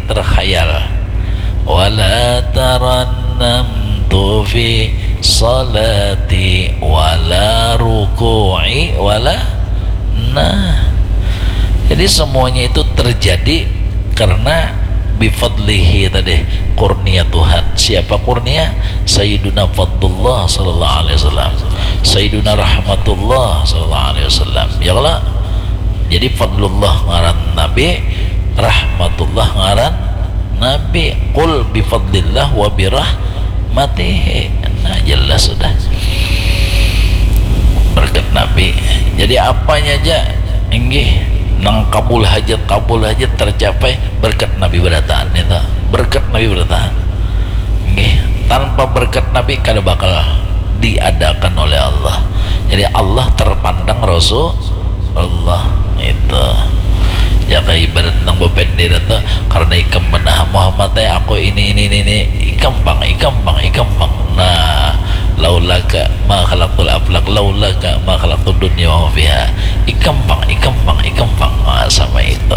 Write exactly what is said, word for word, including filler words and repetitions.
terkhayal. Wala tarannamtu fi salati wala ruku'i wala, nah. Jadi semuanya itu terjadi karena bifadlihi tadi, kurnia Tuhan. Siapa kurnia? Sayyiduna Fadlullah sallallahu alaihi wasallam, Sayyiduna Rahmatullah sallallahu alaihi wasallam. Ya Allah. Jadi fadlullah ngaran Nabi, rahmatullah ngaran Nabi. Qul bifadlillah wa birahmatihi. Nah, jelas sudah. Berkat Nabi. Jadi apanya aja, inggih, nang kabul hajat, kabul hajat tercapai berkat Nabi berataan itu. Berkat Nabi berataan. Inggih, tanpa berkat Nabi kada bakal diadakan oleh Allah. Jadi Allah terpandang Rasulullah itu. Ya, kayak ibarat nang bapender itu, karena ikam benar Muhammad, eh, aku ini, ini, ini, ini, ikam pang, ikam pang, ikam pang. Nah, laulaka ma khalaqtul aflak, laulaka ma khalaqtud dunya wa ma fiha. Ikam pang, ikam pang, ikam pang. Nah, sama itu.